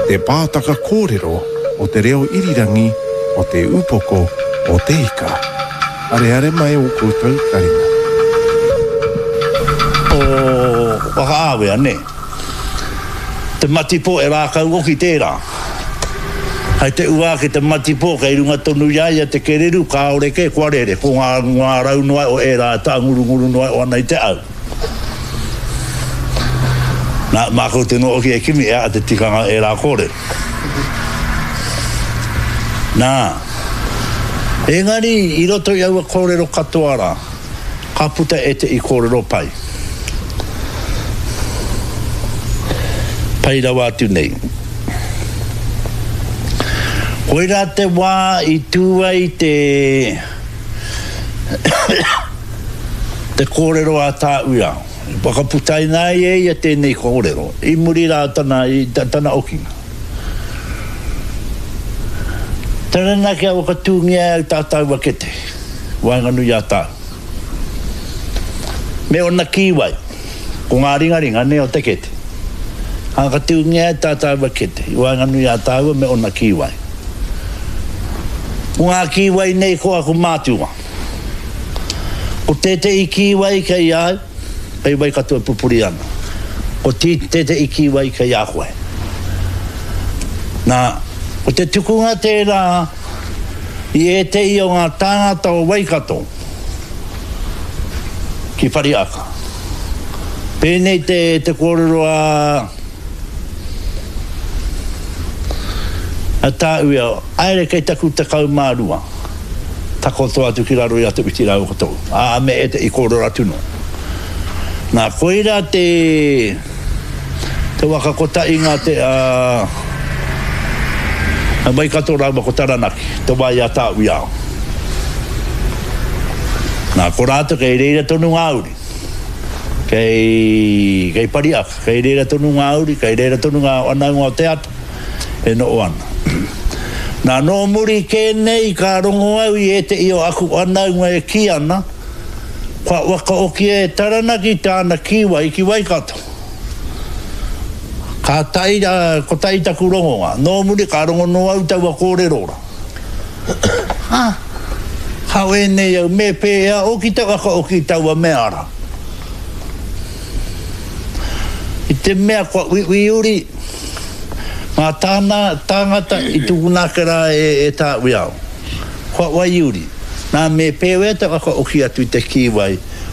Te pātaka kōrero o te reo irirangi o Te Upoko o Te Ika. Areare mai ō koutou taringa. O Whakaawea, nē. Te matipo e rākau oki tērā. Hai te ua ake te matipo kei runga tonu i a ia te kereru, kāore kē kua rere, ko ngā, ngā rau noa o ērā e tāngurunguru noa o ana i te au. Nā, mā koutou noa hoki e kimi e aha te tikanga o ērā kōrero. Nā, engari i roto i aua kōrero katoa rā, ka puta ētehi kōrero pai. Pai rawa atu nei. Koirā te wā i tū ai te te kōrero a Tāuiao. I whakaputaina ai e ia tēnei kōrero i muri rā tana, i tana okinga. Taranaki a whakatūngia e au tā tāua kete, waenganui i a tāu. Me ōna kīwai, ko ngā ringaringa nei o te kete. Ka whakatūngia e tā tāua kete, i waenganui i a tāua me ōna kīwai. Ko ngā kīwai nei ko aku mātua. Ko tētehi kīwai kei a au, kei Waikato e pupuri ana. Ko tētehi kīwai kei a koe. Nā, ko te tukunga tērā i ētehi o ngā tāngata o Waikato ki Whareaka. Pēnei te, te kōrero a, a Tāuia, Aere kei taku 12. Takoto atu ki raro i a Te Whiti rāua ko Tohu, ā, me ētehi kōrero atu nō. Nā, koirā te, te waka kotahinga te, a, a Waikato rāua ko Taranaki, te wā i a Tāuiao. Nā, ko rātou kei reira tonu ngā uri. Kei, kei Pariaka, kei reira tonu ngā uri, kei reira tonu ngā whanaunga o te ata. e noho ana. Nā, nō muri kē nei ka rongo au i ētehi o aku whanaunga e kī ana, kua whakaokia e Taranaki tāna kīwai ki Waikato. Kātahi, kotahi taku rongonga. Nō muri ka rongo noa au taua kōrero rā. Ha! Hao ēnei au, me pēhea oki te whakaoki i taua mea rā? I te mea kua uiui uri, Ngā tāna, tāngata i tukuna ake rā e, e Tāuiao. Kua waiuri. Nā, me pēwea te whakaoki atu i te kīwai.